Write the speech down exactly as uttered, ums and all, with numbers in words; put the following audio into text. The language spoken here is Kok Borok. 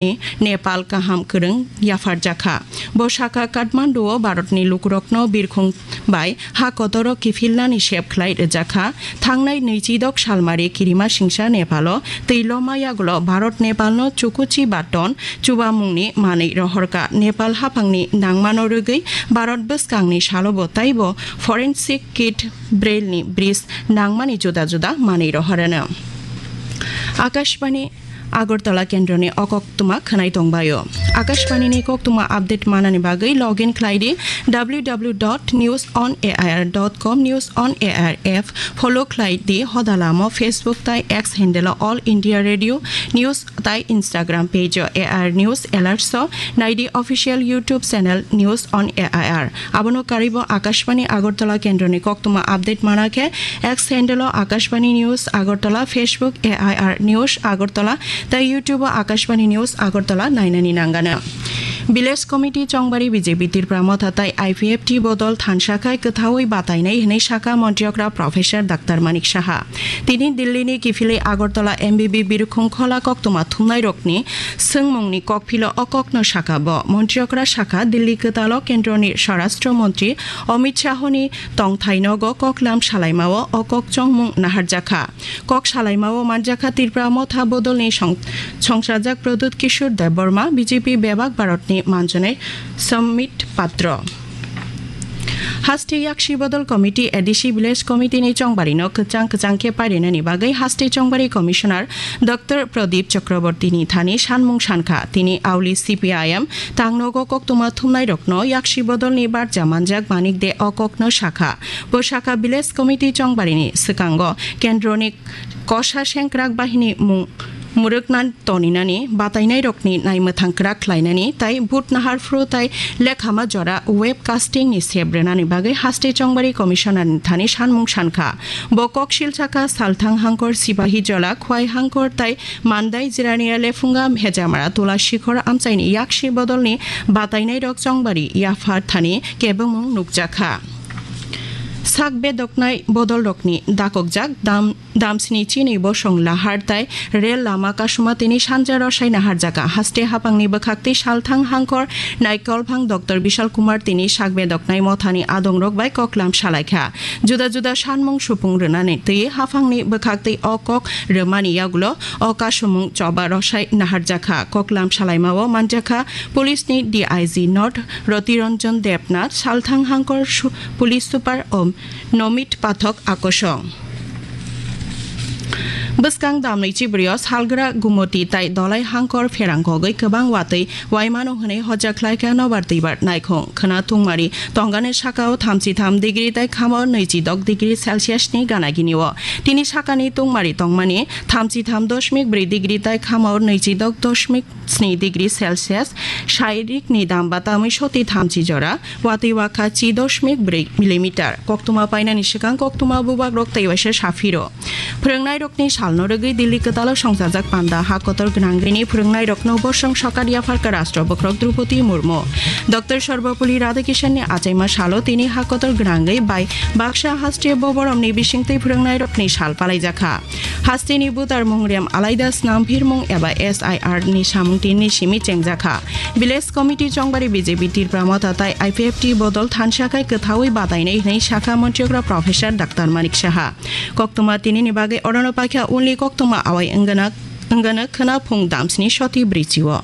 Nepal kaham kwrwng yapharjakha. Bo sakha, Kathmandu o Bharatni lukurokno birkhung bai ha kotoro kiphilnani sep khlai rwjakha. Thangnai nwichidok salmari kirima singsa Nepalo twi loma yagulo Bharat Nepalno chukuchi baton chubamungni manwi rohorkha. Nepal haphangni nangmano rwgwi Bharat bwskangni salobo taibo forensic kit, braille ni bris nangmani juda juda manwi rohorano. Akashbani Agartala kendroni o koktwma khwnai tongbaio. Akashbani ni koktwma update manani bagwi login khlai di w w w dot news on a i r dot com, News on A I R app follow khlai di hoda lamo, Facebook tai X handle o All India Radio News tai Instagram page o A I R News Alerts o nai di official YouTube channel News on A I R. Abono karwi bo Akashbani Agartala kendroni koktwma update mana khe X handle o Akashbani News Agartala, Facebook A I R News Agartala tai YouTube o Akashbani News Agartala nainani nangano. Village Committee Chongbari B J P Tripura Motha tai I P F T bodol thansa khai kwthaui batainai hwnwi sakha Montri okra Professor Doctor Manik Saha. Tini Delhi ni kiphilwi Agartala M B B Birkhung Khola koktwma thumnairokni swngmungni kokphilo o kokno sakha bo. Montri okra sakha, Delhi kwtalo kendroni Swarashtra Montri Amit Shahoni tongthai nogo koklam salaimao o kok chongmung naharjakha. Kok salaimao manjakha Tripura Motha bodolni song-, songsajak Pradyut Kishore Debbarma, B J P bebak Bharatni manjonai Sambit Patro. Haste Yaksi Bodol Committee, A D C Village Committee ni chongbarino kwchang kwchang khe parinani bagwi Haste Chongbari Commissioner Doctor Pradip Chakraborty ni thani sanmung sankha. Tini auli C P I M tangnogo koktwma thumnairokno Yaksi Bodolni barja manjak Manik De o kokno sakha. Bo sakha, Village Committee Chongbarini swkango kendroni kosa sengkrak bahini mung mwrwkna toninani batainairokni naimwthang kwrak khlainani tai vote naharphru tai lekhama jora web casting ni sep rwnani bagwi Haste Chongbari Commissioner ni thani sanmung sankha. Bo kok silsakha Salthang Hangkor, Sipahi Jola, Khwai Hangkor tai Mandai, Jirania Lephunga, Hejamara, Tula Sikhor amchaini Yaksi Bodolni batainairok Chongbari yaphar thani kebengmung nukjakha. Sak bedoknai bodolrokni dakokjak dam, damsni chini bosong lahar tai rel lama kasuma tini sanja rosai naharjaka. Haste hapangni bwkhaktwi Salthang Hangkor Naikolphang Doctor Bishal Kumar tini sak bedoknai mothani adongrok bai koklam salaikha. Juda juda sanmung supung rwnani twi haphangni bwkhaktwi o kok rwmani yagulo o kasumung choba rosai naharjakha. Koklam salaimao manjakha Police ni D I G North Roti Ranjan Debnath, Salthang Hangkor su-, Police Super o Nomit Pathak Akosong. Bwskang damni chibrio salgra Gumoti tai Dolai Hangkor pherang kogwi kwbang watwi waimano hwnwi hojak khlaikha nobar twibar naikhung. Khwna tungmari tongani sakao thamchi tham degree tai khamo nwichi dok degree Celsius ni gana gini o. Tini sakani tungmari tongmani thamchi tham doshmik bwrwi degree tai khamo nwichi dok doshmik sni degree Celsius, sairik ni dam batamwi soti thamchi jora, watwi wakha chi doshmik bwrwi millimeter. Koktwma painani swkang koktwma bubagrok tei waisa saphiro. Phwrwngnairokni salno rwgwi Delhi kwtalo songchajak panda ha kotor gwnangwini phwrwngnairokno bosong sokar yapharkha Rashtra Bokhorok Droupadi Murmu. Doctor Sarvepalli Radhakrishan ni achaima salo tini ha kotor gwnangwi bai baksa haste boboromni bisingtwi phwrwngnairokni sal palaijakha. Hasteni butar mung rem alaida snam phirmung eba S I R ni samung tinni simi chengjakha. Village Committee Chongbari B J P Tripura Motha tai I P F T bodol thansa khai kwthaui batainai hwnwi sakha Montri okra Professor Doctor Manik Saha. Koktwma tinini bagwi orono paikha only koktwma awai wngana, wngana khwna phung damsni soti brichi o.